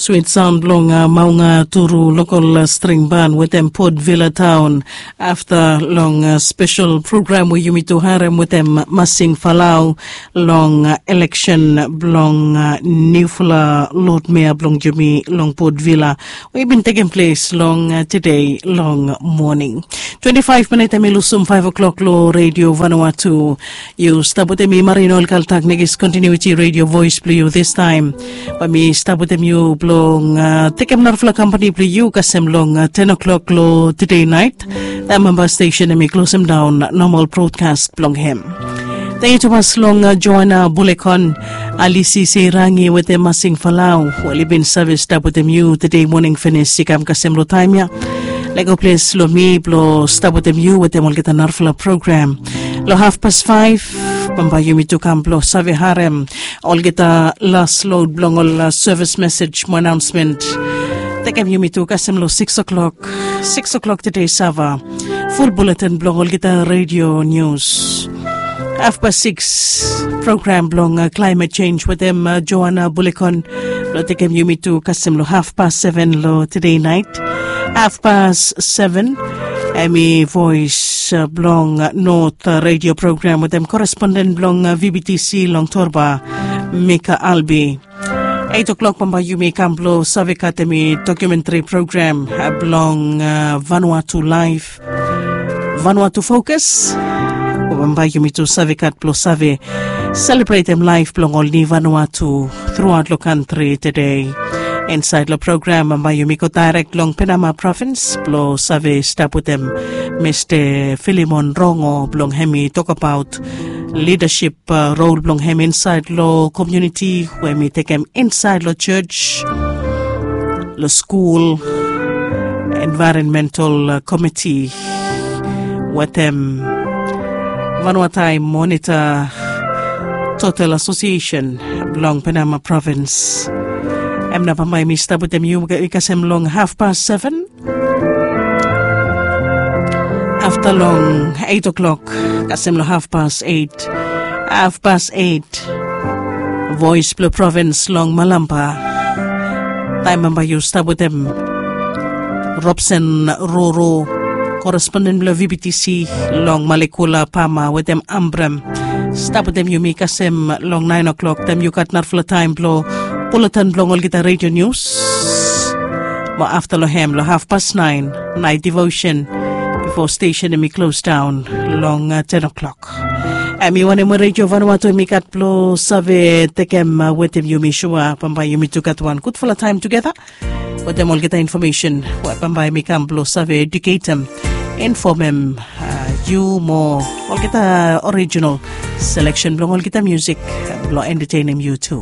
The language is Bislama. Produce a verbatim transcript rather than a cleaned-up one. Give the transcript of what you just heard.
Twit saon blong maunga turu lokol string ban wetem Port Vila taon. Afta long spesel program we yumi tu harem wetem Masing Falau long eleksen blong niufala lod mea blong yumi long Port Vila we i bin tekem ples long tede long moning. Twenti faef minit em i lusum faef o'klok long redio Vanuatu. Yu stap wetem mi Marino Kaltak, Negis Kontinuiti Redio Voes blong yu distaem. Bae mi stap wetem yu blong tekem narafala kampani blong yu kasem long ten o'klok long tede naet. Taem memba stesen em i klosem daon nomal brodkas blong hem. Tengiu tumas long Joana Bulekon, Alisi Seirangi wetem Masing Falau we oli bin save stap wetem yu tede moning finis i kam kasem long taem ya. Lego ples long mi blong stap wetem yu wetem olgeta narafala program. Long hafpas faef bambae yumi tu kam blong save harem olgeta las lod blong ol sevis mesej mo anaonsmen. Tekem yumi tu kasem long sikis o'klok, sikis o'klok tede sava. Ful buletin blong olgeta redio nius. Hafpas sikis, program blong klaemet jenj wetem Joana Bulekon blong tekem yumi tu kasem long hafpas seven long tede naet. Hafpas seven em i voes blong not redio program wetem koresponden blong VBTC long Torba, Mika Albi. Eit o'klok bambae yumi kam blong save katem i dokumentri program blong Vanuatu Laef, Vanuatu Fokus. Bambae yumi tu save kat blong save selebretem laef blong ol ni Vanuatu truaot long kantri tede. Insaed long program bambae yumi go daerek long Penama provins blong save stap wetem Mista Filimon Rongo blong hem i tokbaot lidasip rol blong hem insaed long komuniti we hem i tekem insaed long jos, long skul, envaeronmental komiti wetem Vanuataem Monita Total Asosiesen blong Penama provins. Hem nao bambae mi stap wetem yu i kasem long hafpas seven. Afta long eit o'klok kasem long hafpas eit. Hafpas eit, voes blong provins long Malamba. Taem bambae yu stap wetem Robson Roro, koresponden blong VBTC long Malekula, Pama wetem Ambrem. Stap wetem yumi kasem long naen o'klok taem yu gat narafala taem blong buletin blong olgeta redio nius. Mo afta long hem long hafpas naen, naet divosen bifo stesen hem i klosdaon long ten o'klok. Hem i wanem we redio Vanuatu hem i gat blong save tekem wetem yumi. Sua bambae yumi tu gat wan gudfala taem tugeta wetem olgeta infomesen we bambae hem i kam blong save eduketem, infomem yu mo olgeta orijinal seleksen blong olgeta musik blong entetenem yu tu.